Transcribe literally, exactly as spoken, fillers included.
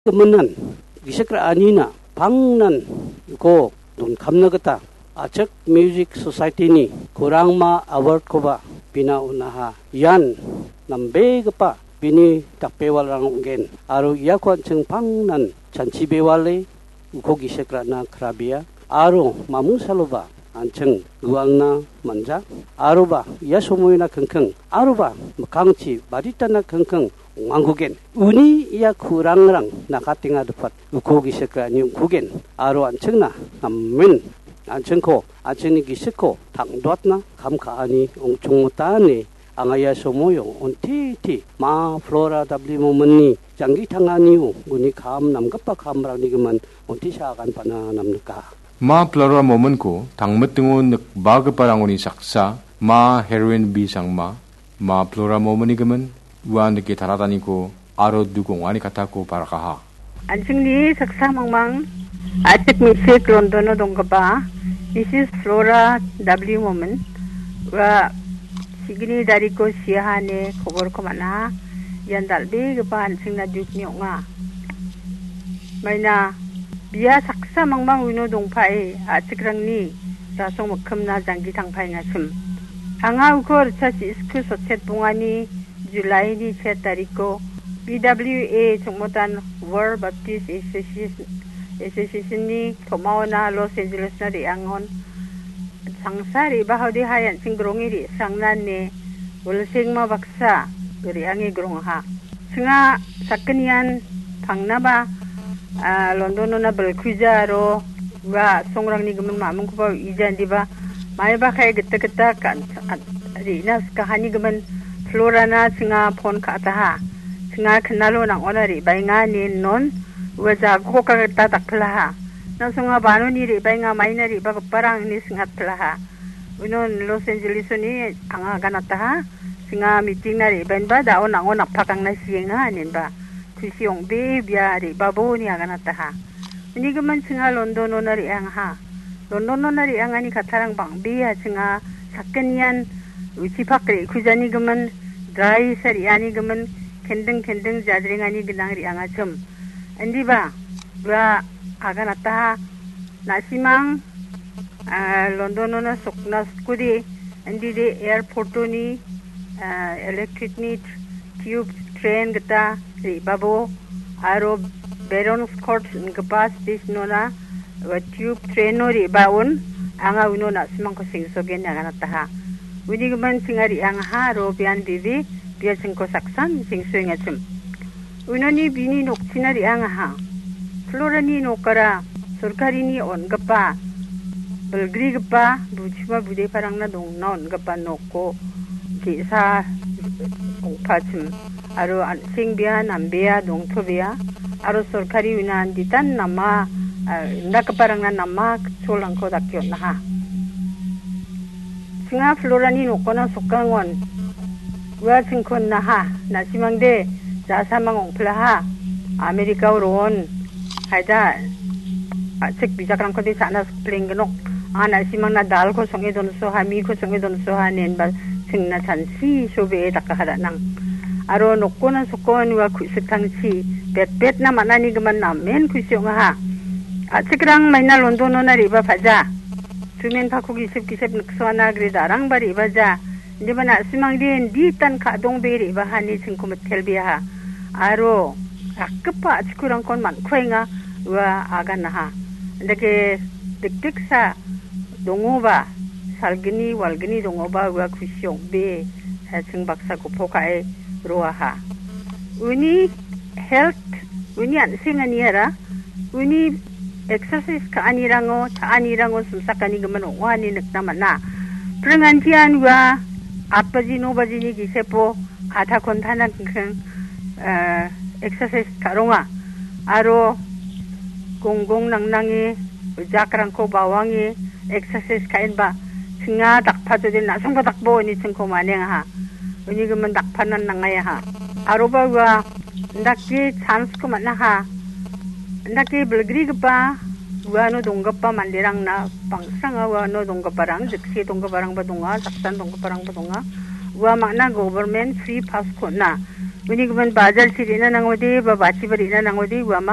giminan gisik ra·anina pangnan uko donkamna gita Achik Music Society-ni Kurangma Award-koba bina on·aha. Ian nambegipa bini dakbewalrang ong·gen aro iako an·ching pangnan chanchi bewale uko gisik ra·na krabea aro mamung saloba an·ching gualna manja aroba ia somoina kingking aroba mikkangchi baditana kingking ong·angkugen. Uni ia kurangrang nakatenga dipat uko gisik ra·ani ong·kugen aro an·chingna namen an·chingko an·chingni gisikko tang·doatna kam ka·ani ong·chongmota ine anga ia somoio on·titi Ma Flora W. Mominni janggi tanganio uni kam namgipa kamrangni gimin on·tisa aganpana namnika. Ma Flora Mominko tangmitingo nikbagiparangoni saksa Ma Heroin B. Sangma, Ma Flora Mominni gimin, ua nike tarataniko aro duk ong·ani katako parakaha. An·chingni saksa mangmang Achik Misik Londono donggipa Misis Flora W. Momin, ua signi dariko siaha ine koborko man·aha. Ian dal·begipa an·chingna dukni ong·a. Maina bia saksa mangmang uno dongpae a·chikrangni rasong mikkimna janggi tangpaengachim. Anga uko ritchasi isku sotchet bongani Julaini se tariko B W A chongmotan World Baptist Association, Association-ni tom·aona Los Angeles-na re·angon changsa re·baode hai an·ching gronge re·srangna ine wilsengma baksa re·ange grongaha. Chinga sakgnian pangnaba, ah, London-ona bilkuja aro ua a·songrangni gimin mamingkoba uija indiba maiba kae gita gita kan-, at-, re·na sikahani gimin Florana chinga pon ka·ataha. Chinga kinalo nang·ona re·baenga ine non ua jagoka gita dakpilaha. Nangsonga banoni re·baenga maina re·bagiparang ine sing·atpilaha. Unon Los Angeles-oni anga aganataha. Chinga meeting-na re·baenba da·o nang·o napakangna sienga inenba. Kusi ong·bee bia re·babo ine aganataha. Uni gimin chinga London-ona re·angaha. London-ona re·angani kattarang bang·bea chinga sakgnian uchipak re·kujani gimin, dry sa re·ani gimin, kending kending jadrengani gnang re·angachim. Indiba, ua aganataha, na·simang, ah, London-ona sokna skode, indide airport-oni, ah, electric-ni tube train gita re·babo, aro Barons Court ingipa station-ona, ua tube train-o re·baon, anga uno na·simangko sengsogen aganataha. Uni gimin chinga re·angaha, aro bian bebe, bia chingko saksan sengsoengachim. Unoni bini nokchina re·angaha. Florani nokara sorkarini on·gipa, bilgrigipa, buchima budeparangna dongna on·gipa noko ge·sa ong·pachim. Aro an·seng bia, nambea, dongtobea. Aro sorkari una anditan nama, ah, indakgiparangna nama cholrangko dake on·aha. Chinga Florani nokona sokangon. Ua chingkon naha, na·simangde, jasamang ong·pilaha. Amerikao ro·on. Haida, a·chik bijakrangkode cha·na sikplengginok. Anga na·simangna dalko song·e donsoha, miko song·e donsoha, inenba chingna chansi sobee dakaha da·nang. Aro nokona sokon ua ku·siktangchi, betbetna man·ani gimin namen kusi ong·aha. A·chikrang maina London-ona re·bapaja. Sumen pako gisep gisep niksoana gre darangba re·baja. Indiba na·simangde inditan ka·dongbe re·bahani chingko mitelbeaha. Aro rakgipa a·chikurangkon man·kuaenga ua aganaha. Indake dikdiksa dongoba, salgni walgni dongoba ua kusi ong·be, eh, ching baksa gopok ka·e roaha. Uni health, uni an·senganiara, uni exercise ka·anirango, cha·anirango simsakani gimin ong·a ine nikna man·a. Pringantian ua aat baji, no bajini gisepo adha ghontana kingking, eh, exercise ka·ronga. Aro gonggong nangnange, jakrangko bawange, exercise ka·enba, chinga dakpajode na·songba dakbo ine chingko manengaha. Uni gimin dakpanan nangaha. Aroba ua indake chance-ko man·aha. Indake bilgrigipa uano donggipa manderangna bangsanga uano donggiparang, jikse donggiparangba donga, saksan donggiparangba donga. Ua mangna government free pass-ko on·a. Uni gimin bajar chi re·na nangode, ba bachiba re·na nangode, uamang